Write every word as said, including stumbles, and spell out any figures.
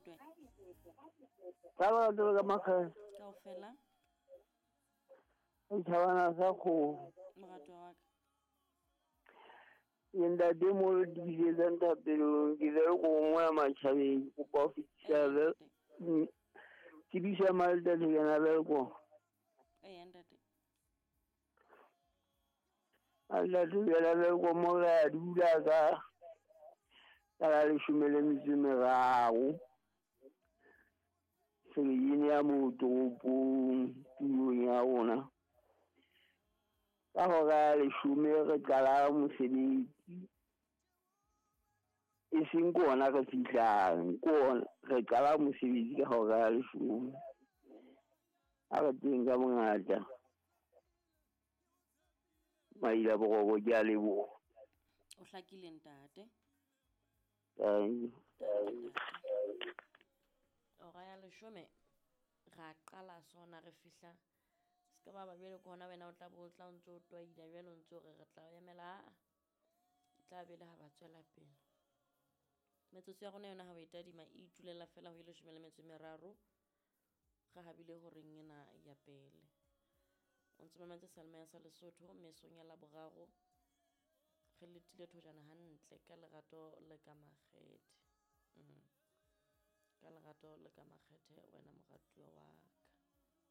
Moratwe. Ka lerato le ka makgethe. Kaofela. Setjhabana sa kgomo. Moratwa wa ka. Ke ntate mo re tiisetsang thapelong ke le ko mona matjhabeng kopa ho fetisa tsebiso ya Malta Thekana Welkom. Eya ntate. Malta Thekana Welkom mo re a dula ka ka la leshome le metso e meraro. Selekene ya moo toropong tulong ya rona. Ka hora ya leshome re qala mosebetsi. E seng ke ona re fihlang, ke ona re qala mosebetsi ka hora ya leshome. Ha re teng ka bongata. Maila boroko ke a leboha. O hlakile ntate. Thank you. Hora ya leshome ra qala sona re fihla. Se ka ba ba bjale ke hona wena o tla bo o tla o ntso o twaila jwale o ntso re re tla emela tla be le ha ba tswela pele. Metsotso ya rona yona ha o e tadima e itulela fela ho e leshome le metso e meraro. Re habile horeng ena ya pele. O ntso mametse Seyalemoya sa Lesotho mesong ya Laboraro. Re letile thojana hantle ka lerato le ka makgethe. Mm. Ka lerato le ka makgethe wena moratuwa wa